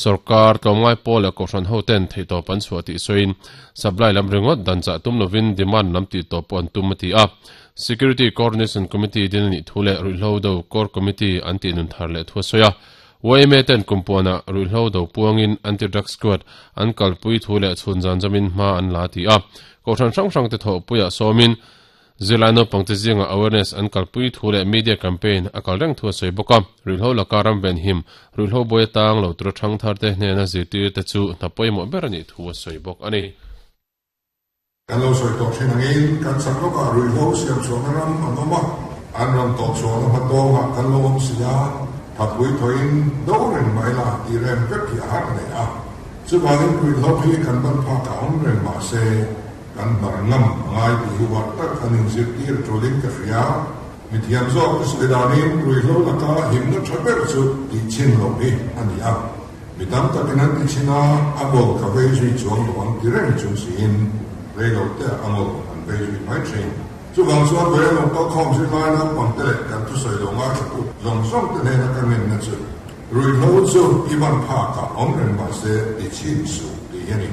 Sorkar, tlawmngai pawl leh kohhran hoten theihtawp an chhuah tih sawiin supply lam ringawt dan chah tum lovin demand lam tihtawp pawh an tum a ti a. Security Coordination Committee din a nih thu leh ruihhlo do Core Committee an tih nun thar leh thu a sawi a. Yma ten kumpuanah ruihhlo do puangin Anti-Drug Squad an kalpui thu leh chhun zan zawmin hma an la a ti a. Kohhran hrang hrangte thawhpuiah sawmin Zirlai naupangte zingah awareness an kalpui thu leh media campaign a kal reng thu a sawi bawk a. Ruihhlo laka ram venhim, ruihhlo buai atang lo tura thangtharte hnena zirtirte chu hna pawimawh ber a nih thu a sawi bawk a ni. Kan lo sawi tawh thin angin kan chak lawkah ruihhlo siam chhuahna ram an awm a, an rawn tawh chhuahna hma tawngah kan lo awm si a, thapui thawhin do reng mai la tih rem vek hi a har hle a. Chuvangin ruihhlo hi kan ban phakah awm reng mah se kan hnar ngam a ngai tih hi uar tak an inzirtir tulin ka hria. Mithiam zawk ka sawi danin ruihhlo laka himna tha ber chu tihchhin loh hi a ni a. Mi tam takin an ti chhin a, a ngawl ka vei zui chuang lo ang ti reng chung siin rei lo te a ngawl an vei zui mai thin. Chuvang chuan vawiin lo kal khawm zirlai naupangte leh kan thusawi lo ngaithlatu zawng zawng te hnena ka ngenna chu ruihhlo chu i van phakah awm reng mahse ti chhin suh tih hi a ni.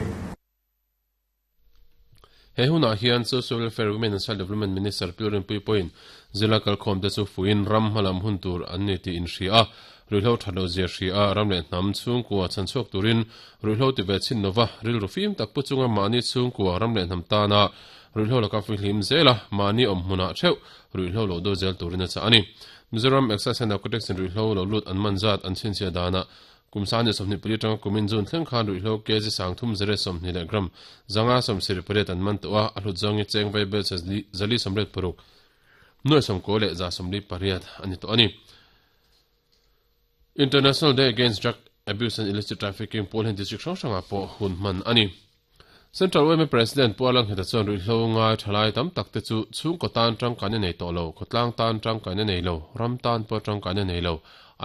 He hunah hian Social Welfare, Women and Child Development Minister Pi Rinpuii pawhin zirlai kalkhawmte chu fuiin ram hmalam hun tur an ni tih inhria a, ruihhlo that loh zia hria a, ram leh hnam chhungkua chhanchhuak turin ruihhlo ti ve chhin lova rilru fim tak pu chunga mahni chhungkua ram leh hnam tana ruihhlo laka fihlim zel a, mahni awm hmunah theuh ruihhlo lo do zel turin a chah a ni. Mizoram Excise and Narcotics in ruihhlo lo lut an man zat an chhinchhiah danah Kum 24 atanga kumin June thleng khan ruihhlo kg 30 20 leh gram 578 an man tawh a, a hlut zawng hi cheng vai bel 486 nuai 90 leh 148 a ni tawh a ni. International Day Against Drug Abuse and Illicit Trafficking pawl hian district hrang hrangah pawh hun hman a ni. Central yma President Pu Alangheta chuan ruihhlo ngai thalai tam tak te chu chhungkaw tan tangkaina nei tawh lo, khawtlang tan tangkaina nei lo, ram tan pawh tangkaina nei lo,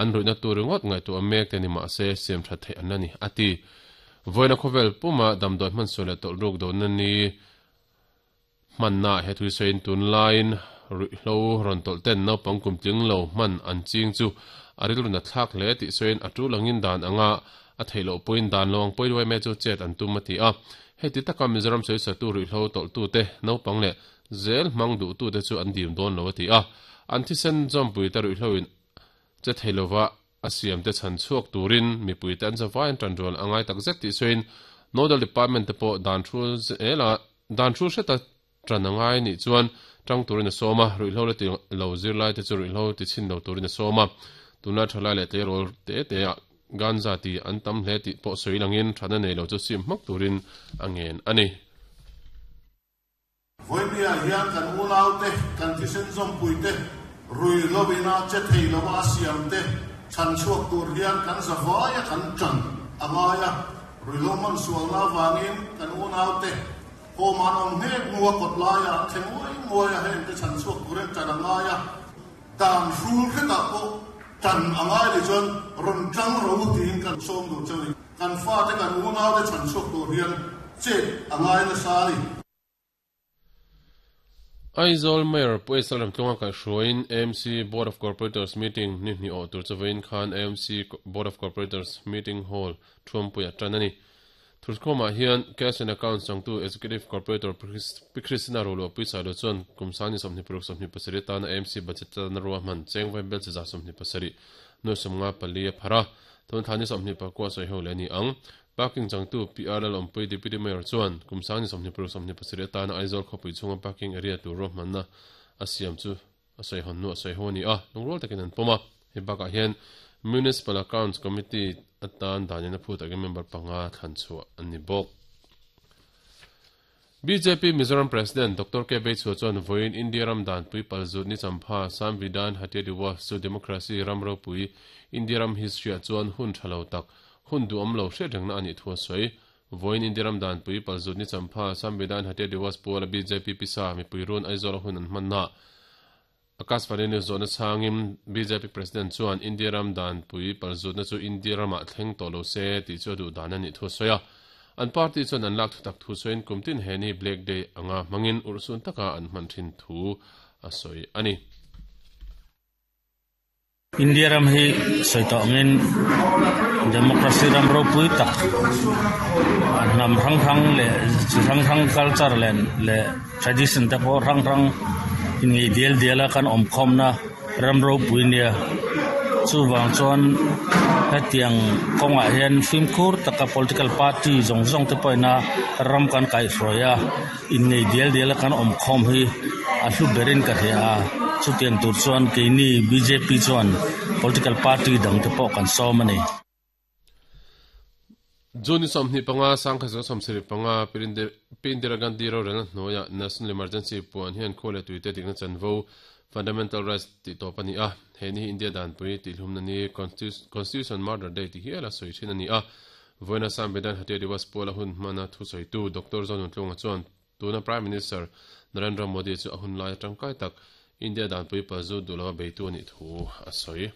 an ruihna tur ringawt ngaihtuah mek te ni mahse siam that theih an la ni, a ti. Vawiina khawvel puma damdawi hmansual leh tawlhruk dohna ni Hmanna he thuisawiin tunlaiin ruihhlo rawn tawlh ten naupang kum tling lo hman an ching chu a rilru na thlak hle tih sawiin a tul angin dan anga a theih loh pawhin dan lo ang pawi luai mai chu chet an tum a ti a. Heti taka Mizoram sawisatu ruihhlo tawlhtute naupang leh zel hmang duhtute chu an dim dawn lo a ti a. An thisen zawmpuite ruihhloin che thei lova a siamte chhan chhuak turin mipuite an zavai an tanrual a ngai takzet tih sawiin Nodal Department te pawh dan thu zela Dan thu hreta tan a ngai nih chuan tang turin a sawm a, ruihhlo la ti lo zirlaite chu ruihhlo ti chhin lo turin a sawm a. Tunlai thalai leh tleirawl te te ah ganja ti an tam hle tih pawh sawi langin thana nei lo chu sim hmak turin a ngen a ni. Vawinia hian kan unaute, kan thisen zawmpuite, ruihhlo ina che thei lova a siamte chhan chhuak tur hian kan zavaia kan tan a ngai a. Ruihhlo hman sualna avangin kan unaute home an awm nghek hnu a kawt laia an thle nguai nguai a, hengte chhan chhuak turin tan a ngai a, dan hrul hretah pawh tan a ngai leh chuan rawn tang ro tiin kan sawm duh cheu ni. Kan fate kan unaute chhan chhuak tur hian chet a ngai nasa a ni. Aizawl Mayor Pu Esal Ramtlunga kaihhruaiin AMC Board of Corporators meeting ni hnih awh tur chu vawiin khan AMC Board of Corporators meeting hall thuampuiah tan a ni. Thurkhawmah hian Cash and Accounts changtu Executive Corporator Pi Christina Roluahpui Sailo chuan kum sangni 26 27 atana AMC budget tana ruahman cheng vai bel chi 27 nuai 54 a phar a, tun thla ni 24 sawiho leh a ni ang. Parking changtu PR Lalawmpui Deputy Mayor chuan kum sang ni 26 27 atana Aizawl khawpui chhunga parking area tur ruahmanna a siam chu a sawi hawn hnu a sawi ho a ni a, lungrual takin an pawm a. Hei bakah hian Municipal Accounts Committee atan danin a phut takin member panga thlan chhuah an ni bawk. Bjp Mizoram President Doctor K Beichhua chuan vawiin India ram danpui palzut ni champha Samvidhan Hatya Diwas chu democracy ram ropui India ram history-ah chuan hun tha lo tak Hun duhawm lo hriat rengna a nih thu a sawi. Vawiin India ram danpui palzut ni champha Samvidhan Hatya Diwas puala bjp pisa mipui run Aizawl a hun an hmanna Akashvani News zawhna chhangin bjp President chuan India ram danpui palzutna chu India ramah thleng tawh lo se tih chu a duh dan a nih thu a sawi a. An party chuan an lak thutak thu sawiin kum tin he ni Black Day anga hmangin urhsun taka an hman thin thu a sawi a ni. India ram hi sawi tawh angin democracy ram ropui tak hnam hrang hrang leh chi hrang hrang culture leh leh tradition te pawh hrang hrang inngeih dial dial a kan awm khawmna ram ropui nia chuvang chuan hetiang kawngah hian fimkhur taka political party zawng zawng te pawhin a ram kan kaihhruai a. Innei dial dial a kan awm khawm hi a hlu berin ka hria a, chutiang tur chuan keini bjp chuan political party dang te pawh kan sawm a ni. June ni 25, 1975, Pi Indira Gandhi rorelna hnuaiah National Emergency puan hian khua leh tuite dikna chanvo, Fundamental Rights, tih tawp a ni a. He ni hi India danpui tihhlumna ni, Constitution Murder Day ti hiala sawi thin a ni a. Vawiina Samvidhan Hatya Diwas puala hun hmana thusawitu Doctor Zonuntlunga chuan tuna Prime Minister Narendra Modi chu a hun laia tangkai tak India danpui palzut duh lova beitu a nih thu a sawi.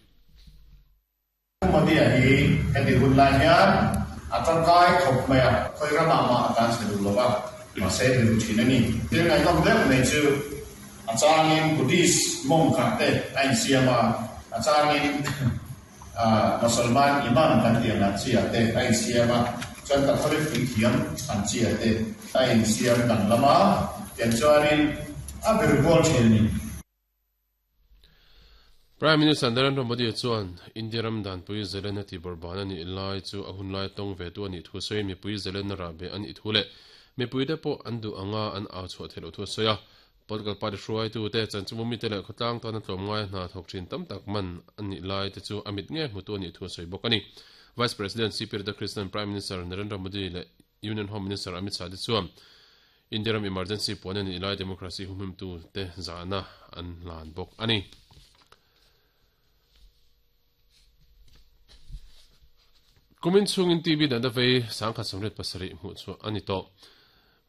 Modi-a hi heti hun lai hian a tangkai khawp mai a, khawi ramah mah a tan chhe duh lova, mahse biru thin a ni. Thil ngaihnawm deuh mai chu a changin Buddhist monk ah te a insiam a, a changin Mosalman Imam kan tih ang chi ah te a insiam a, chuan Catholic puithiam ang chi ah te a insiam danglam a, tiang chuanin a ber kual thin a ni. Prime Minister Narendra Modi chuan India ram danpui zalenna tihbawrhban a nih lai chu a hunlai tawng ve tu a nih thu sawiin mipui zalenna rahbeh a nih thu leh mipuite pawh an duh anga an au chhuah theih loh thu a sawi a. Political party hruaitute, chanchinbu mite leh khawtlang tana tlawmngaia hna thawk thin tam tak man a nih lai te chu a mit nge hmutu a nih thu a sawi bawk a ni. Vice President CP Radhakrishnan, Prime Minister Narendra Modi leh Union Home Minister Amit Shah te chuan India ram emergency puan a nih lai democracy humhimtu te zahna an hlan bawk a ni. Kumin chhungin TB natna vei 1087 hmuh chhuah a ni tawh.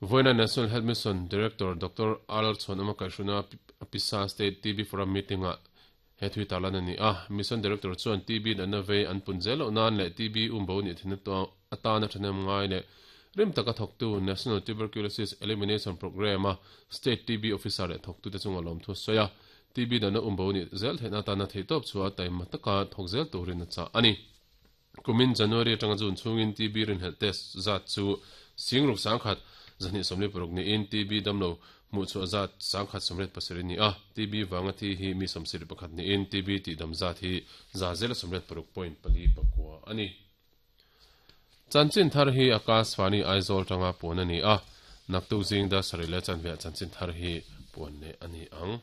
Vawiina National Health Mission Director Doctor R Chhuanawma kaihhruna Pisa State TB Forum meeting-ah he thui tarlan a ni a. Mission Director chuan TB natna vei an pun zel loh nan leh TB umbo nih theihna atana thahnem ngai leh rim taka thawktu National Tuberculosis Elimination Programme-a State TB Officer leh thawktute chunga lawmthu a sawi a. TB natna umbo nih zel theihna atana theihtawp chhuah taima taka thawk zel turin a chah a ni. Kumin January atanga June chhungin TB rinhlelh test zat chu Singruk 1000, 246 niin TB damlo hmuhchhuah zat 1087 a ni a, TB vanga thi hi mi 71 niin TB tihdam zat hi 186.49 a ni. Chanchin thar hi Akashvani Aizawl tanga puan a ni a, naktuk zing dar sarih leh chanveah chanchin thar hi puan leh a ni ang.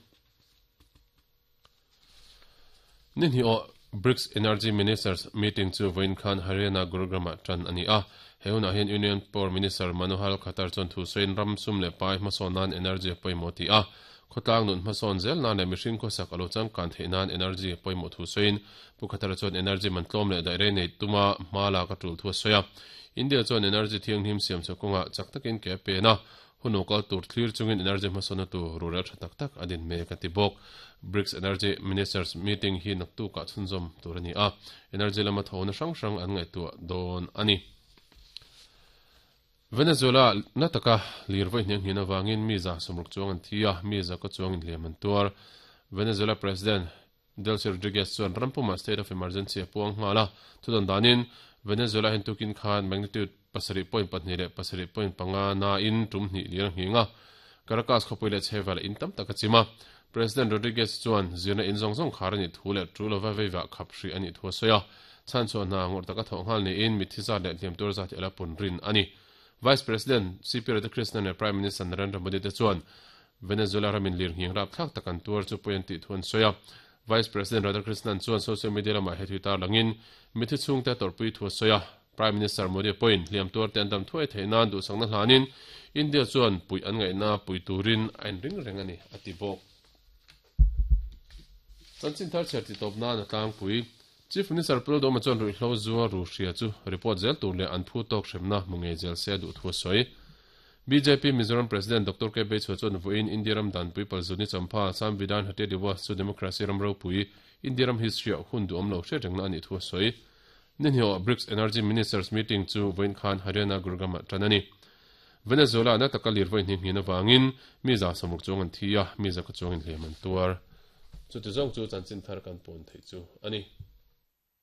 Ni hnih awh BRICS Energy Ministers Meeting chu vawiin khan Haryana Gurugram-ah tan a ni a. He hunah hian Union Power Minister Manohar Khattar chuan thu sawiin ram sum leh pai hmasawn nan energy a pawimawh tih a, khawtlang nun hmasawn zel nan leh mihring khawsak a lo changkan theih nan energy a pawimawh thu sawiin Pu Khattar chuan energy man tlawm leh daih rei nei tuma hma lak a tul thu a sawi a. India chuan energy thianghlim siam chhuah kawngah chak takin ke a pen a, Hun lo kal tur thlir chungin energy hmasawnna tur rurel tha tak tak a din mek a ti bawk. BRICS Energy Ministers Meeting hi naktukah chhunzawm tur a ni a, energy lama thawhna hrang hrang an ngaihtuah dawn a ni. Venezuela na taka lir vawi hniang hnian avangin mi 60 chuang an thi a, mi 100 chuang inhliam an tuar. Venezuela President Delcy Rodriguez chuan ram pumah state of emergency a puang nghal a, thudawn danin Venezuela hian tukin khan magnitude 7.2 leh 7.5 nain tum hnih lir a nghing a, Caracas khawpui leh chhevel in tam tak a chim a. President Rodriguez chuan zirna in zawng zawng khar a nih thu leh tul lova veivah khap hrih a nih thu a sawi a, chhanchhuah hna ngawrh taka thawh nghal niin mitthi zat leh hliam tur zat hi a la pun rin a ni. Vice President CP Radhakrishnan leh Prime Minister Narendra Modi te chuan Venezuela ramin lirnghing rapthlak tak an tuar chu pawi an tih thu an sawi a. Vice President Radhakrishnan chuan social media lamah he thui tarlangin mithi chhungte a tawrhpui thu a sawi a. Prime Minister Modi pawhin hliam tuarte an dam thuai theih nan duhsakna hlanin India chuan puih an ngaihna pui turin a inring reng a ni, a ti bawk. Chanchin thar chhiar titawp nan a tlangpui. Chief Minister Pu Lalduhawma chuan ruihhlo zua ru hria chu report zel tur leh an phu tawk hremna hmu ngei zel se a duh thu a sawi. Bjp Mizoram President Doctor K Beichhua chuan vawiin India ram danpui Palzuni Champha Samvidhan Hatya Diwas chu Democracy ram ropui India ram history ah hun duhawm lo hriat rengna a nih thu a sawi. Nihniawh BRICS Energy Ministers Meeting chu vawiin khan Haryana Gurgram ah tan a ni. Venezuela na taka lir vawi hnih hnin avangin mi 60 chuang an thi a, mi 100 chuangin hliam an tuar. Chuti zawng chu chanchin thar kan puan theih chu a ni.